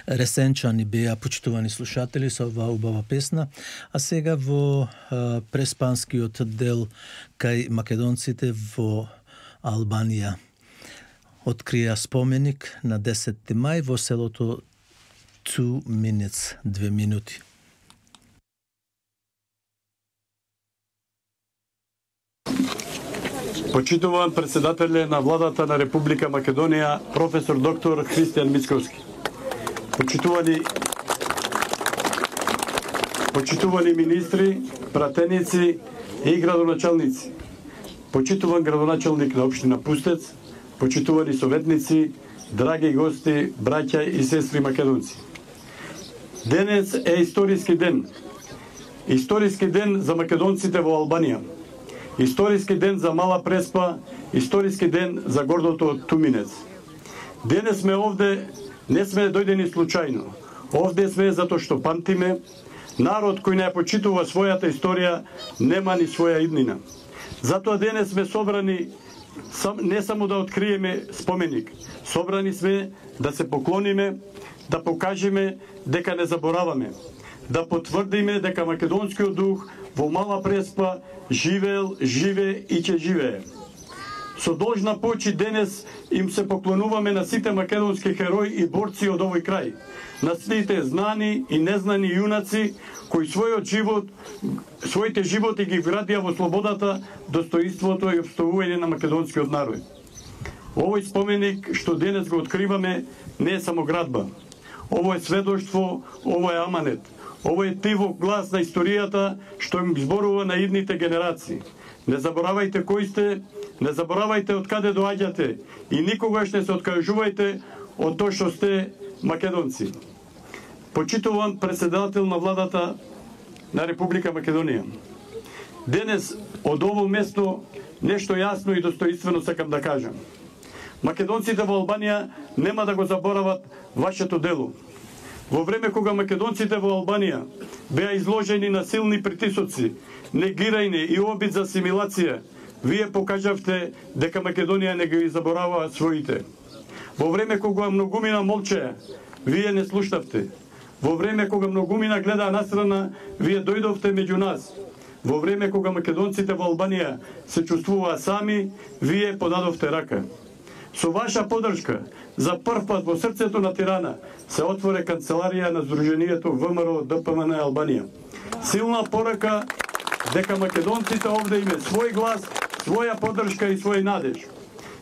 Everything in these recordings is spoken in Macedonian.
Ресенчани беа, почитувани слушатели, со оваа убава песна, а сега во преспанскиот дел кај македонците во Албанија открија споменик на 10 мај во селото 2 minutes, 2 минути. Почитуван председателе на владата на Република Македонија, професор доктор Христијан Мицковски. Почитувани министри, пратеници и градоначалници. Почитуван градоначалник на општина Пустец, почитувани советници, драги гости, браќа и сестри македонци. Денес е историски ден. Историски ден за македонците во Албанија. Историски ден за Мала Преспа, историски ден за гордото Туминец. Денес сме овде, не сме дојдени случајно. Овде сме затоа што памтиме, народ кој не почитува својата историја, нема ни своја иднина. Затоа денес сме собрани не само да откриеме споменик, собрани сме да се поклониме, да покажеме дека не забораваме, да потврдиме дека македонскиот дух во Мала Преспа живеел, живе и ќе живее. Со должна почит денес им се поклонуваме на сите македонски херои и борци од овој крај, на сите знани и незнани јунаци кои своите животи ги вградија во слободата, достоинството и опстојување на македонскиот народ. Овој споменик што денес го откриваме не е само градба. Ово е сведоштво, ово е аманет. Ово е тивок глас на историјата што им зборува на идните генерации. Не заборавајте кои сте, не заборавајте од каде доаѓате и никогаш не се откажувајте од тоа што сте македонци. Почитуван председател на владата на Република Македонија. Денес од ово место нешто јасно и достоинствено сакам да кажам. Македонците во Албанија нема да го заборават вашето дело. Во време кога македонците во Албанија беа изложени на силни притисоци, негирање и обид за асимилација, вие покажавте дека Македонија не ги заборава своите. Во време кога многумина молчеа, вие не слушнавте. Во време кога многумина гледаа настрана, вие дојдовте меѓу нас. Во време кога македонците во Албанија се чувствуваа сами, вие подадовте рака. Со ваша поддршка, за прв пат во срцето на Тирана се отвори канцеларија на Сдруженијето ВМРО ДПМН Албанија. Силна порака дека македонците овде име свој глас, своја поддршка и свој надеж.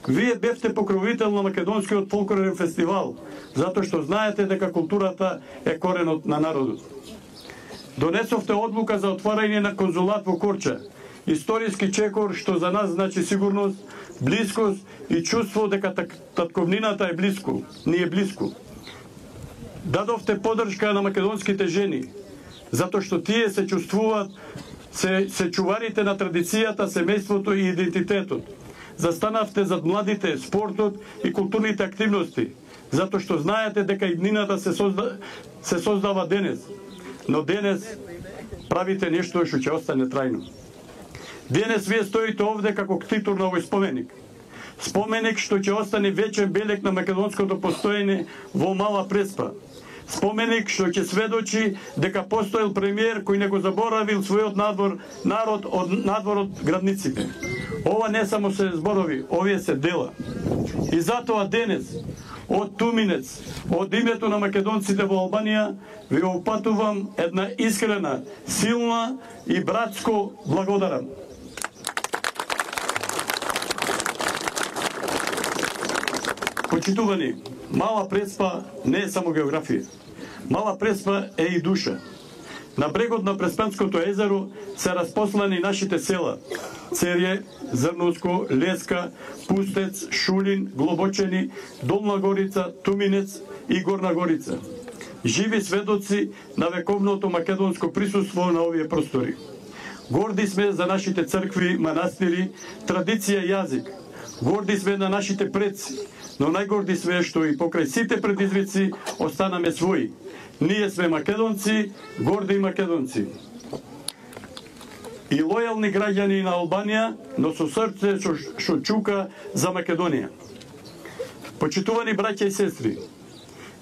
Вие бевте покровител на македонскиот фолклорен фестивал, затоа што знаете дека културата е коренот на народот. Донесовте одлука за отварање на конзулат во Корча, историски чекор што за нас значи сигурност, блискост и чувство дека татковнината е близко, ни е близко. Дадовте поддршка на македонските жени, затоа што тие се чувствуваат се чуварите на традицијата, семејството и идентитетот. Застанавте зад младите, спортот и културните активности, затоа што знаете дека иднината се создава денес, но денес правите нешто што ќе остане трајно. Денес вие стоите овде како ктитор на овој споменик. Споменик што ќе остане вечен белег на македонското постоење во Мала Преспа. Споменик што ќе сведочи дека постоел премиер кој не го заборавил својот народ од надвор од градниците. Ова не само се зборови, овие се дела. И затоа денес, од Туминец, од името на македонците во Албанија, ви опатувам една искрена, силна и братско благодарам. Почитувани, Мала Преспа не е само географија. Мала Преспа е и душа. На брегот на Преспанското езеро се распослани нашите села: Церје, Зрнуско, Леска, Пустец, Шулин, Глобочени, Долна Горица, Туминец и Горна Горица. Живи сведоци на вековното македонско присуство на овие простори. Горди сме за нашите цркви, манастири, традиција и јазик. Горди сме на нашите предци, но најгорди сме што и покрај сите предизвици останаме своји. Ние сме македонци, горди македонци. И лојални граѓани на Албанија, но со срце што чука за Македонија. Почитувани браќа и сестри,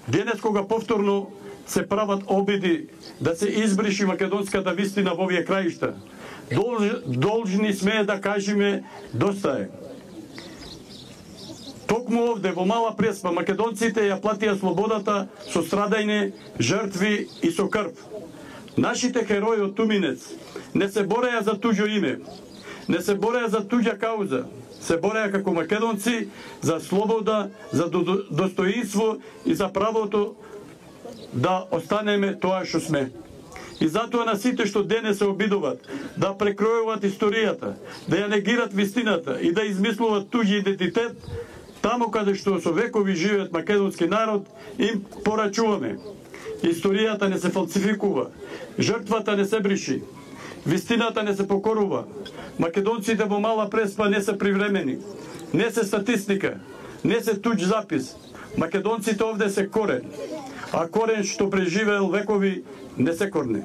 Денес кога повторно се прават обиди да се избриши македонската вистина во овие краишта, должни сме да кажеме доста е. Токму овде во Мала Преспа македонците ја платија слободата со страдање, жртви и со крв. Нашите херои од Туминец не се бореја за туѓо име, не се бореја за туѓа кауза, се бореја како македонци за слобода, за достоинство и за правото да останеме тоа што сме. И затоа на сите што денес се обидуваат да прекројуваат историјата, да ја негират вистината и да измислуваат туѓи идентитет, таму каде што со векови живеат македонски народ, им порачуваме. Историјата не се фалсификува, жртвата не се бриши, вистината не се покорува. Македонците во Мала Преспа не се привремени, не се статистика, не се туѓ запис. Македонците овде се корен, а корен што преживеел векови не се корне.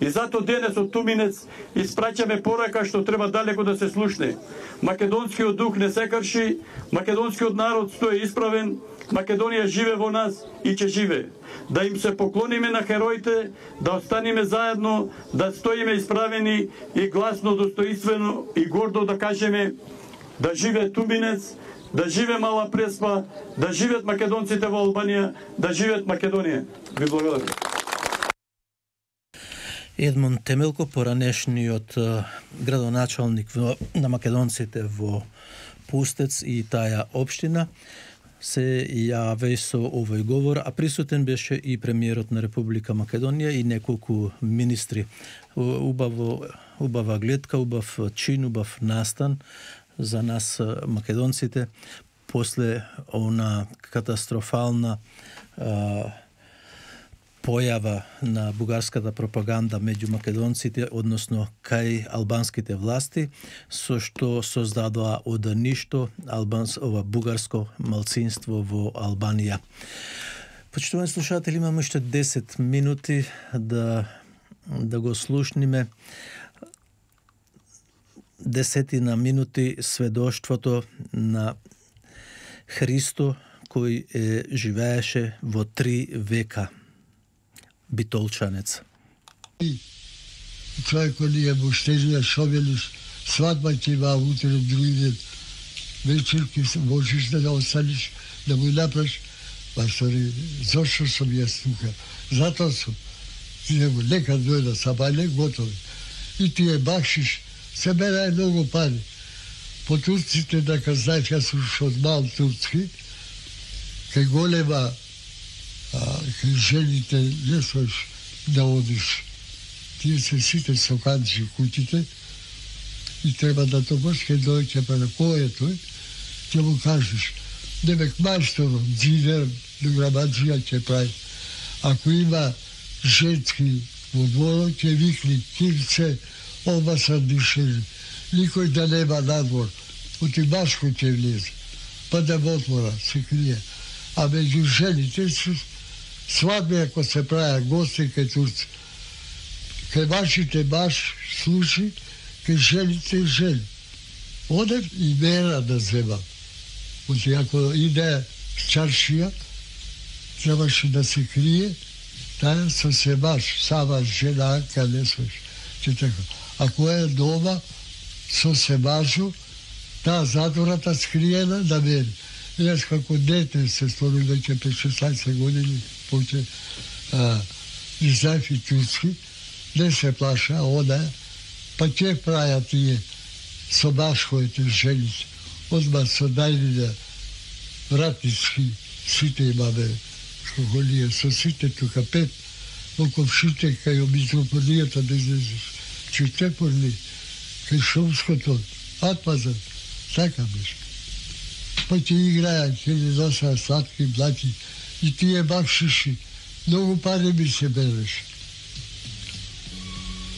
И зато денес од Туминец испраќаме порака што треба далеко да се слушне. Македонскиот дух не се крши, македонскиот народ стои исправен, Македонија живе во нас и ќе живе. Да им се поклониме на хероите, да останеме заедно, да стоиме исправени и гласно, достоинствено и гордо да кажеме да живе Туминец, да живе Мала Преспа, да живеат македонците во Албанија, да живеат Македонија. Ви благодарам. Едмон Темелко, поранешниот градоначалник на македонците во Пустец и таа општина, се јави со овој говор, а присутен беше и премиерот на Република Македонија и неколку министри. Убава гледка, убав чин, убав настан за нас македонците после она катастрофална појава на бугарската пропаганда меѓу македонците, односно кај албанските власти, со што создадоа од ништо бугарско малцинство во Албанија. Почитувани слушатели, имаме уште 10 минути да го слушниме 10 минути сведоштвото на Христо кој живееше во 3 века. Битолчанец. Човек кој е буштежија шовелиш, свадба ќе има утре, други ден, вечерки можеш да останеш, да му направиш, па стори, зашто сум јас тука? Затоа сум. Него нека дојда сабајле, готови. И ти е бакшиш, се берај многу пари. По турците, дека знаеш, јас сум од мал турцки, кај голема кај жените не слеш да одиш. Тие се сите соканци куќите и треба да тогаш кај дојќе па на кој е тој, ќе му кажеш, демек мајсторот, дзидер, дограмаджија ќе прави. Ако има женски во дворот, ќе викни, кирце, оба са дишели. Никој да нема надвор, оти башко ќе влезе, па да во отвора се крие. А меѓу жените свадби ако се правя гости кај турци. Кај вашите баш слуши, кај жените жени. Одем и мера да земам. Оти ако иде чаршија, требаше да се крие, таа со се баш, сама жена, каде свеш. Че така. Ако е дома, со се башу, таа затвората скриена да мери. Јас како дете се стори веќе 5-16 години, поче не знаев и турски, не се плаша, ода, па ќе праја тие со башковите жените. Одма со најдите вратницки, сите имаме школија, со сите тука 5, во ковшите кај митрополијата да излезеш, Читепорни, кај Шумското, Атмазан, така беше. Па ќе играја, ќе не носаа сладки, блаки, и тие бакшиши, многу пари ми се береше.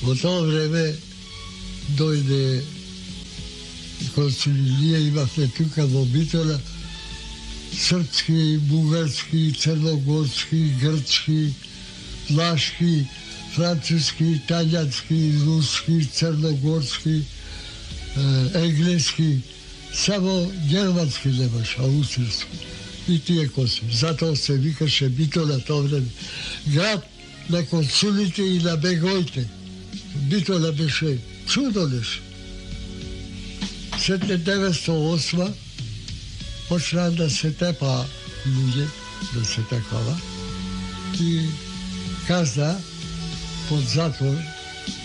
Во тоа време дојде консулија, имавме тука во Битола, српски, бугарски, црногорски, грчки, влашки, француски, италијански, руски, црногорски, енглески, само германски немаш, аустријски. и тие коси. Затоа се викаше Битола тоа време. Град на консулите и на бегоите. Битола беше чудолеш. 1908 почна да се тепа луѓе, да се такова, и каза под затвор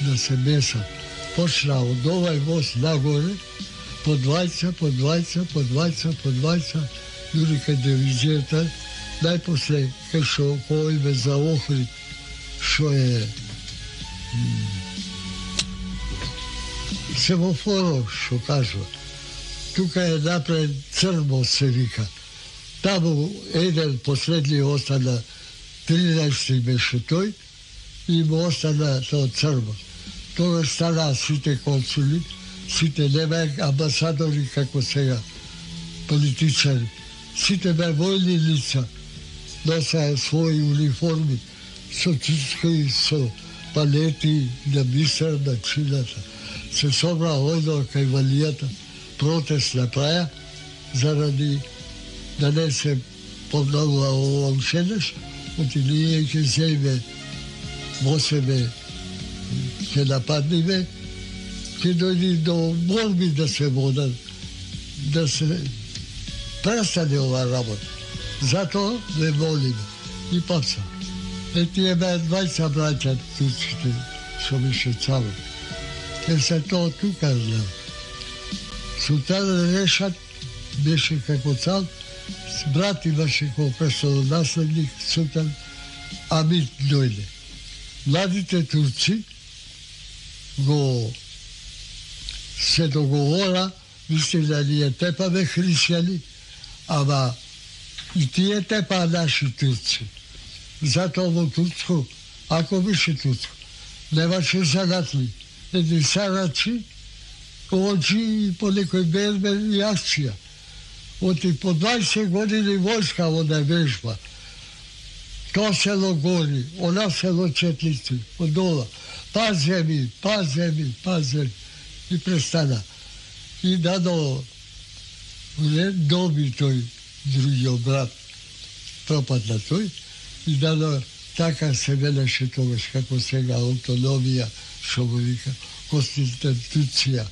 да се месат. Почна од овај мост нагоре, по двајца, дури кај дивизијата, најпосле кај што кој за Охрид, што е семафоро, што кажува. Тука е направен Црмо, се вика. Таму еден последни остана, 13 беше тој, и му остана тоа Црмо. Тоа стана сите консули, сите нема амбасадори како сега, политичари. Сите бе војни лица, носеа своји униформи, со чички, со палети на мисер на чината. Се собра ојдо кај валијата, протест направија, заради да не се подновува ова ушедеш, оти ние ќе земе во себе, ќе нападниме, ќе дојди до борби да се водат, да се престане ова работа. Затоа не молиме. И паца. Тие беа 20 браќа турците, што беше царо. Се тоа тука знам. Султан Решат беше како цар, брат имаше како престолонаследник, султан Амид дојде. Младите турци го се договора, мисли да ние тепаме христијани, ама и тие тепаа наши турци. Затоа во турско, ако беше турско, немаше занатли, едни сарачи, очи и по некој бербер и акција. Оти по 20 години војска во да вежба. Тоа село гори, она село четлици, одола. Паземи. И престана. И дадо доби тој другиот брат, пропадна тој, и дадо така се велеше тогаш, како сега автономија, што го вика, конституција.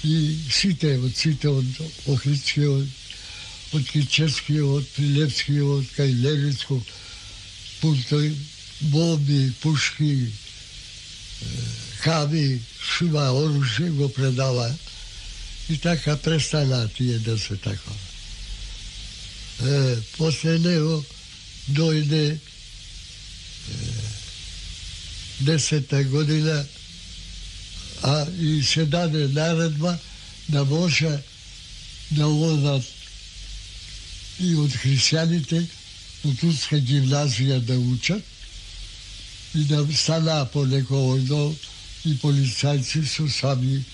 И сите од Охридскиот, од Кичевскиот, од Прилепскиот, кај Левицко, тој бомби, пушки, каби, шума оружје го предава. И така престана тие да се такова. После него дојде 10-та година, а и се даде наредба да може да одат и од христијаните од турска гимназија да учат и да стана по некој одол и полицајци со саби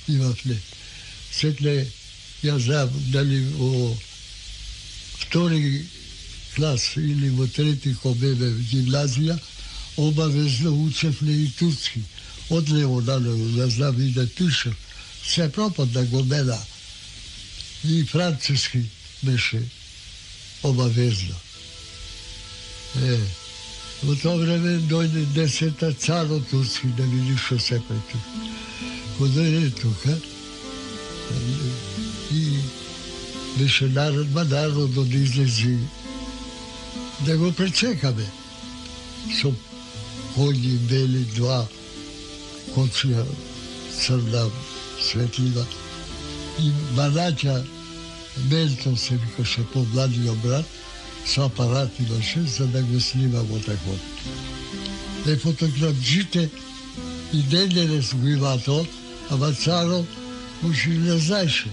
и вафле. Секле, ја знам, дали во втори клас или во трети кобебе гимназија, обавезно учевме и турски. Од лево на лево, да знам и да пишем. Се пропадна го мена. И француски беше обавезно. Во тоа време дојде 10-та царо турски да види што се прави. Кога дојде тука, и беше наредба народот да излези да го пречекаме. Со коњи бели, два коција црна светлива и манаќа Мелто се викаше по-младиот брат, со апарат имаше за да го снима во тако. Да фотографџите и ден-денес го има тоа, ама царот може и не знаеше.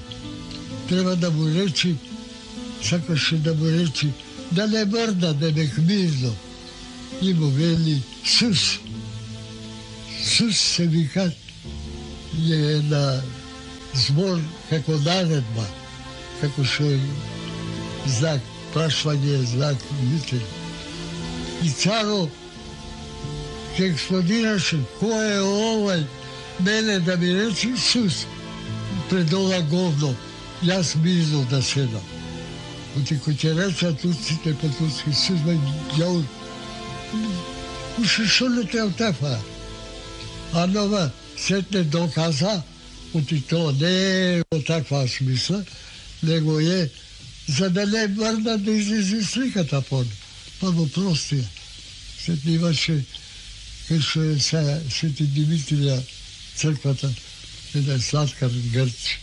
Треба да му речи, сакаше да му речи, да не мрда, да не хмирно. И му вели Сус. Сус се вика, е на збор како наредба, како што е знак, прашвање, знак, митен. И царо ќе експлодираше, кој е овај, мене да ми речи Сус. Пред ова говно, јас мирно да седам. Оти кој ќе реца турците по турски сизма јаур. Уши шо не те отефа. А нова сетне доказа, оти то не е во таква смисла, него е за да не врна да излезе сликата по па во простија. Сетне имаше кај што е Свети Димитрија црквата, еден сладкар грч,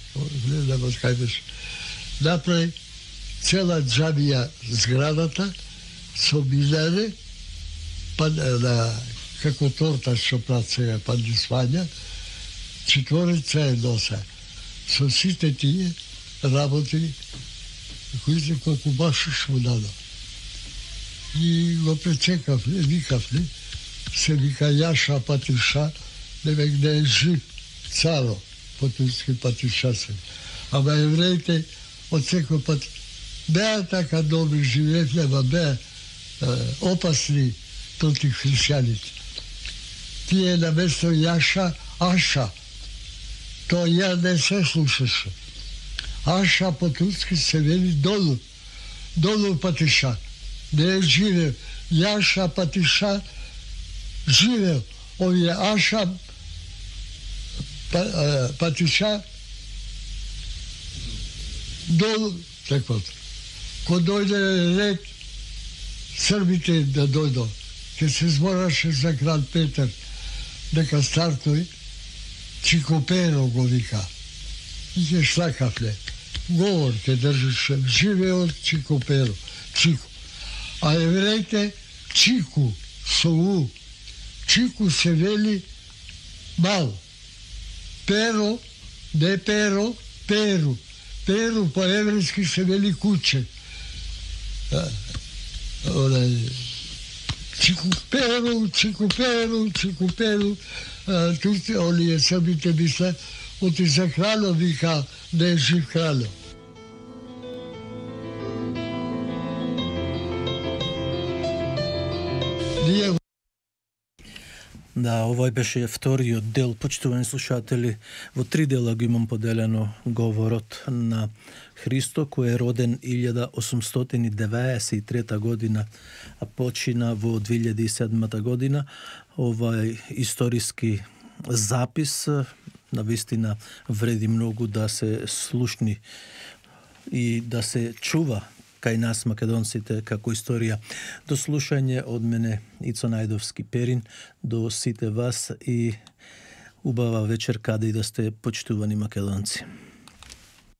не знам кај беше, направи цела џамија зградата со минаре, па како торта што прават сега пандисвања, четворица е носа. Со сите тие работи, кои се колку башиш му дадо. И го пречекавле, викавле, се вика Јаша Патиша, невек да е жив царо, по турски Патиша се. Ама евреите од секој пат беа така добри, живеевле, ама беа опасни против христијаните. Тие на место Јаша, Аша, тоа ја не се слушаше. Аша по турски се вели долу, долу Патиша. Не е живеел. Јаша Патиша живеел. Овие Аша Патиша долу таквото. Ко дојде ред србите да дојдо, ке се збораше за крал Петар, дека стартој Чикоперо го вика. И ќе шлакавле. Говор ке држеше. Живеел Чикоперо. Чико. А евреите Чику со У. Чику се вели мал. Перо, не перо, перу. Перу по еврејски се вели куче. Чикуперу, Чикуперу, Чикуперу. Турци, оние србите мисле, оти за крало вика да е жив крало. Ние Да, овој беше вториот дел, почитувани слушатели. Во 3 дела го имам поделено говорот на Христо, кој е роден 1893 година, а почина во 2007 година. Овај историски запис навистина вреди многу да се слушни и да се чува кај нас македонците како историја. До слушање од мене Ицо Најдовски Перин, до сите вас и убава вечер каде и да сте почитувани македонци.